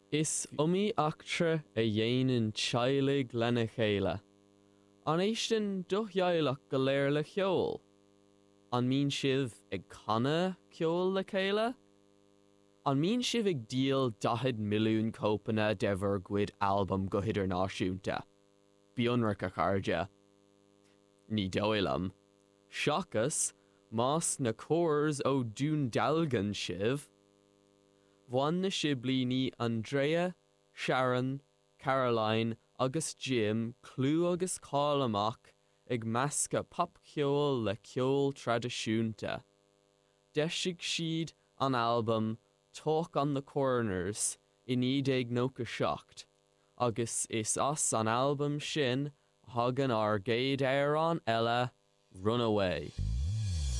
Is iomaí eachtra a dhéanann teaghlaigh lena chéile. An éisteann do theaghlach go léir le ceol? An mbíonn sibh ag canadh ceoil le chéile? An mbíonn sibh ag díol 40 milliún cóipeanna de bhur gcuid albam go hidirnáisiúnta? Bí ionraic, a chairde. Ní dóigh liom. Seachas más na Corrs ó Dún Dealgan sibh. Bhain na siblíní Andrea, Sharon, Caroline agus Jim clú agus cáil amach ag meascadh popcheoil le ceol traidisiúnta. D'eisigh siad an albam Talk on the Corners i 1997 agus is as an albam sin a thagann ár gcéad amhrán eile, Runaway.